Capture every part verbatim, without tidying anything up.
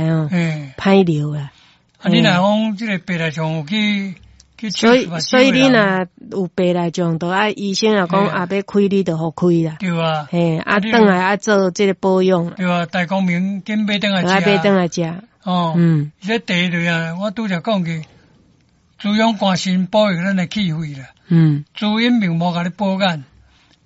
吼，嘿，歹尿啦。啊，你若講這个白內障有去去所以手術所以你若有白內障，就愛醫生若講嘿啊欲開你就予開啦。對啊，嘿，啊，你轉來愛做這个保養，對啊，大光明緊買轉來就愛買轉食。來食。哦，嗯，這茶類啊，我拄才講過，滋養肝腎，保育咱的氣血啦。嗯，滋陰明目，共你補眼。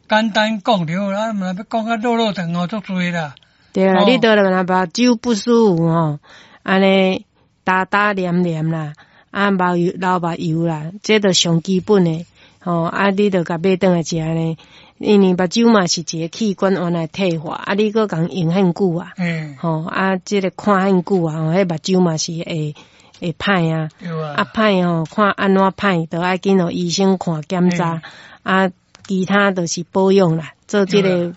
簡單講就好啦，毋若欲講較落落長哦，足濟啦。對啦，哦你著若目睭不舒服吼，按呢焦焦黏黏啦，啊流油流目油啦，這著上基本的吼，啊你著共買轉來食呢，因為目睭嘛是一个器官原來退化，啊你閣共用遐久啊，嘿，吼啊這个看遐久啊，吼，彼目睭嘛是會會歹啊。對啊。啊歹吼，看按怎歹，著愛緊予醫生看檢查，啊，其他就是保養啦，做這个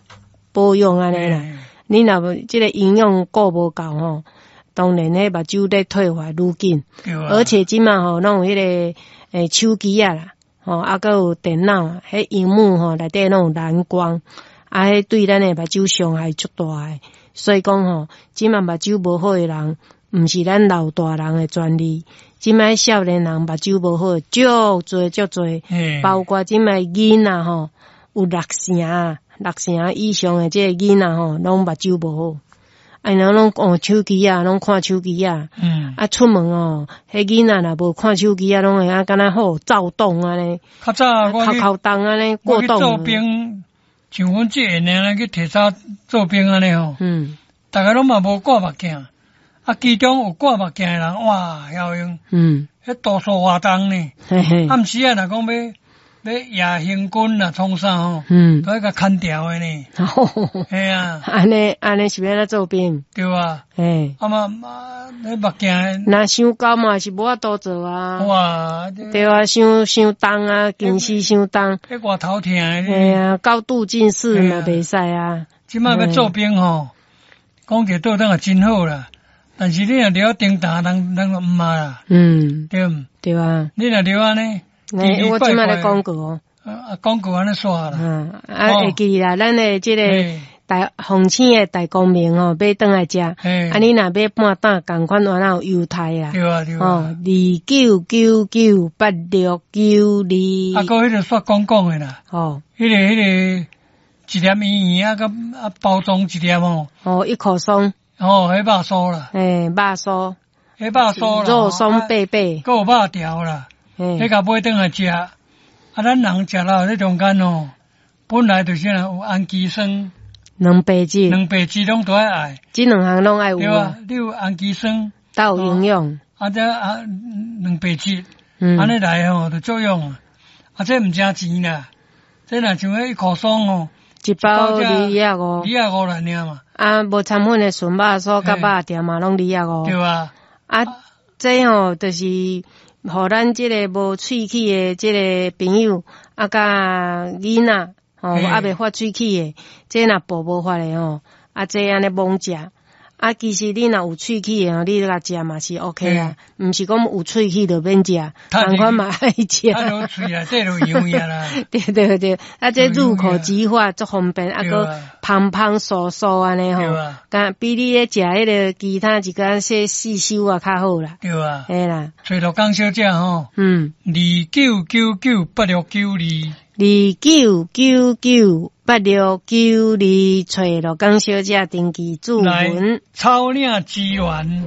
保養按呢啦。嘿你若無這个營養顧無夠吼，當然彼目睭咧退化愈緊，對啊。而且這馬吼攏有彼个欸手機仔啦，吼啊閣有電腦啊，彼螢幕吼內底攏有藍光，啊，彼對咱的目睭傷害足大的。所以講吼，這馬目睭無好的人，毋是咱老大人的專利，這馬少年人目睭無好，足濟足濟，嘿，包括這馬囡仔吼，有六成六成以上的這个囡仔吼，攏目睭無好。啊，𪜶攏用手機仔，攏看手機仔。嗯，啊，出門哦，彼囡仔若無看手機仔，攏會啊，敢若好躁動按呢，較早我去哭哭動按呢我去做過動。兵，像阮這個年齡去提早做兵按呢吼，嗯逐家攏嘛無掛目鏡，啊，其中有掛目鏡的人，哇，曉用，嗯，彼度數偌重呢？嘿嘿，暗時啊，若講欲欲夜行軍啊，創啥吼，嗯，都愛共牽牢的呢。嘿啊，按呢按呢是欲按怎做兵？對啊，嘿，啊嘛嘛，彼目鏡，若傷高嘛是無法度做啊。哇，對啊，傷傷重啊，近視傷重。彼額頭疼的。嘿啊，高度近視嘛袂使啊。這擺欲做兵吼，講者倒轉也真好啦。但是你若著頂擔，人人就毋捌啦。嗯，對毋？對啊。你若著按呢？欸，我這擺咧廣告哦。啊，廣告按呢煞啦。嗯，啊，會記啦，咱的這個大鳳青的大光明吼，買轉來食。啊，你若買半擔，仝款原來有優待啦。對啊，對啊。哦，二九九九八六九二。啊，閣彼个煞講講的啦。哦。彼个彼个一粒圓圓啊，佮啊包裝一粒吼。哦，一口鬆。哦，彼肉酥啦。欸，肉酥。彼肉酥啦。肉鬆貝貝。閣有肉條啦。彼共買轉來食，啊，咱人食了這中間吼，本來就是有氨基酸，蛋白質，蛋白質攏都愛愛，這兩項攏愛有。對啊，你有氨基酸，都有營養。啊，這啊蛋白質，按呢來吼就作用。啊，這毋誠錢啦，這若像彼一箍爽吼，一包二仔五，二仔五來爾嘛。啊，無摻粉的純肉酥佮肉條嘛，攏二仔五。對啊。啊，這吼就是。予咱這个無喙齒的這个朋友，啊，佮囡仔，吼，猶未發喙齒的，這若補無法的吼，啊，這按呢猛食，啊，其實你若有喙齒的吼，你共食嘛是 OK 啊，毋是講有喙齒就免食，仝款嘛愛食。啊，落喙內底就油啦。對對對，啊，這入口即化足方便，啊，閣芳芳酥酥按呢吼，敢比你咧食彼个其他一寡些細修啊較好啦。對啊。嘿啦。揣陸江小姐吼。嗯。二九九九八六九二。二九九九八六九二，揣陸江小姐登記注文。草嶺資源。